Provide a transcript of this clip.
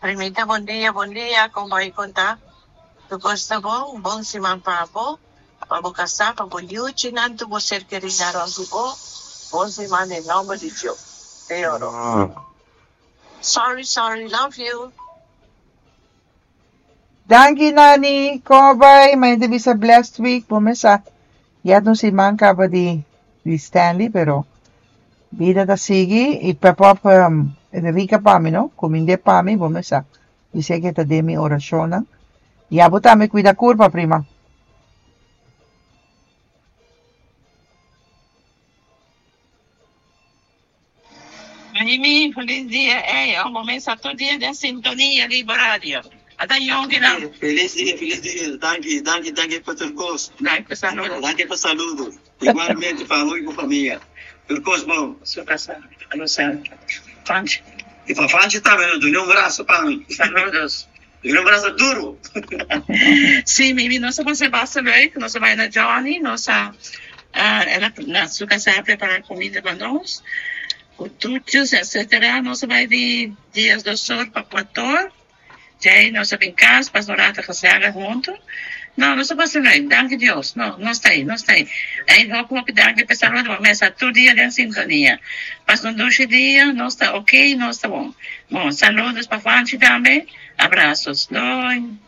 Primita bon dia bon dia kon bai kon ta tur kos ta bon bon siman pa bo pa bo kasá pa bo yuchinan tur bo ser kerinan rònt di bo bon siman den nòmber di Dios te oro sorry sorry love you. Danki Nani, kon a bai? Mainta bisa blessed week, bo mes sa ya ta un siman kaba di di Stanley pero bida ta sigui y pep up Enrica pa mi no, kumind'é pa mi bo mes sa bis'é ke ta den mi orashonnan y abo tambe kuida kurpa prima. Mimi, felis dia ey oh bo mesa tur dia den sintonia di bo radio. Ata yonkinan. Felis dia, felis dia. Danki, danki, danki pa tur kos. Danki pa saludo. Danki pa saludo. Igualmente pa abo y bo famia. Tur kos bon. Su casa, Lucia. Franchi. Y pa Franchi tambe, no duna un braso pa mi. Saludos. Duna un braso duro. Sí, Mimi, nos a pasa basta leuk. Nos a bai na Johnny, nos a el a na su casa a prepara comida pa nos, cu toetjes etcetera. Nos a bai di diesdos or pa cuator. Djei nos a bin cas, pasa un rato gezellig hunto. No, nos a pasa leuk, danki Dios. No, nos ta ei, nos ta ei. Ei, hopi, hopi danki pa e saludo. Bo mesa tur dia den sintonia. Pasa un dushi dia, nos ta ok, nos ta bon. Bon, saludos pa Juanchi tambe. Abrazos. Doei.